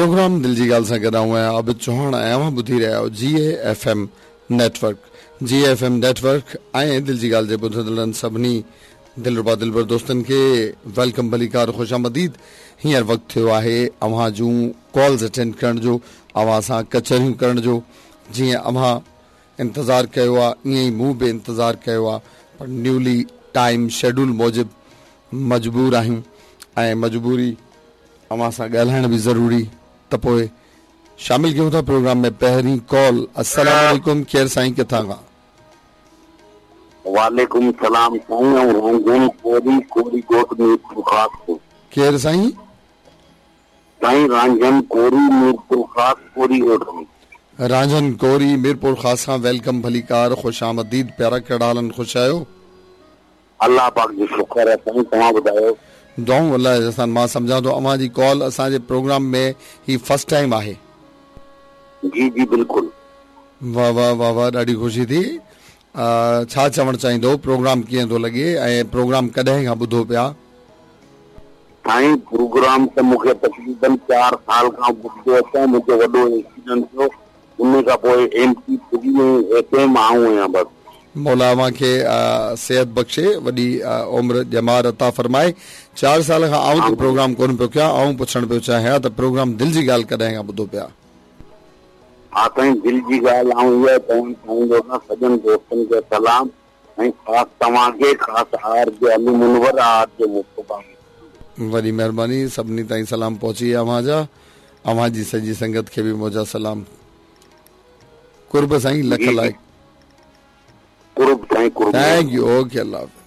Programme دل جي ڳالهه سان گڏ آئون آهيان عابد چوهاڻ ۽ اوهان ٻڌي رهيا آهيو جي اي F M network. جي اي ايف ايم نيٽ ورڪ ۽ دل جي ڳالهه جي ٻڌندڙن سڀني دلربا دلبر دوستن کي welcome ڀليڪار خوش آمديد. هينئر وقت ٿيو آهي اوهان جون ڪالز اٽينڊ ڪرڻ جو، اوهان سان ڪچهريون ڪرڻ جو. جيئن اوهان انتظار ڪيو آ ائين ئي مون به انتظار ڪيو آ پر نيولي ٽائيم شيڊول موجب مجبور آهيون ۽ مجبوري اوهان سان ڳالهائڻ به ضروري ته پوء شامل ڪيون ٿا پروگرام ۾ پهرين ڪال السلام عليڪم ڪير سائين ڪٿان کان. وعليڪم السلام سائين آئون رانجهن ڪوري ڪوري ڳوٺ ميرپورخاص کان. ڪير سائين. سائين رانجهن ڪوري ميرپورخاص ڪوري ڳوٺ ۾. رانجهن ڪوري ميرپورخاص کان welcome ڀليڪار خوش آمديد پيارا ڪهڙا حال آهن خوش آهيو. الله پاڪ جو شڪر آهي سائين توهان ٻڌايو. دعائون الله جي احسان مان سمجهان ٿو اوهان جي ڪال اسان جي پروگرام ۾ هي فرسٽ ٽائيم آهي. جي جي بلڪل. واه واه واه واه ڏاڍي خوشي ٿي ڇا چوڻ چاهيندو پروگرام ڪيئن ٿو لڳي ۽ پروگرام ڪڏهن کان ٻڌو پيا. سائين پروگرام ته مون کي تقريبن چار سال کان ٻڌندو اچان منهنجو وڏو ايڪسيڊنٽ ٿيو انهي کان پوء ايم پي ٿري ۽ ايف ايم آئون آهيان بس. مولا اوهان کي صحت بخشي وڏي عمر ڄمار عطا فرمائي. چار سال کان آئون ته پروگرام ڪونه پيو ڪيان آئون پڇڻ پيو چاهيان ته پروگرام دل جي ڳالهه ڪڏهن کان ٻڌو پيا. ها سائين دل جي ڳالهه آئون اها چوڻ چاهيندو آهيان سڄن دوستن کي سلام ۽ خاص توهان کي خاص آر جي علي منور آر جي مصطفيٰ کي. وڏي مهرباني سڀني تائين سلام پهچي اوهان جا اوهان جي سڄي سنگت کي به منهنجا سلام قرب سائين لک جي جي لائق. قرب سائين قرب thank مهرباني. You okay Allah Hafiz.